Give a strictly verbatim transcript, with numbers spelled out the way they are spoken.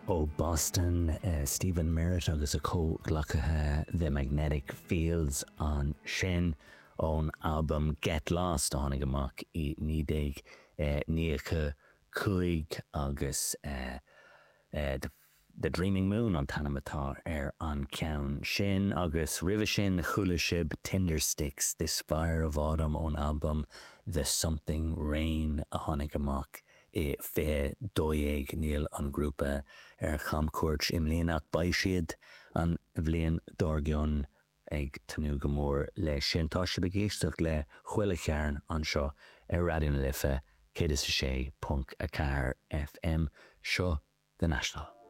Ó Boston, Stephen Merritt agus a chomhghleacaithe The Magnetic Fields ansin ón albam Get Lost a tháinig amach i naoi déag nócha cúig agus The Dreaming Moon an t-ainm atá ar an ceann sin agus roimhe sin chuala sibh Tindersticks This Fire of Autumn ón albam The Something Rain a tháinig amach i fiche dó dhéag níl an grúpa ar chamchuairt i mbliana ach beidh siad an bhliain dár gcionn ag tnúth go mór leis sin. Tá sibh ag éisteacht le Chuile Chearn anseo ar Raidió na Life céad is a sé ponc a ceathair FM seo The National.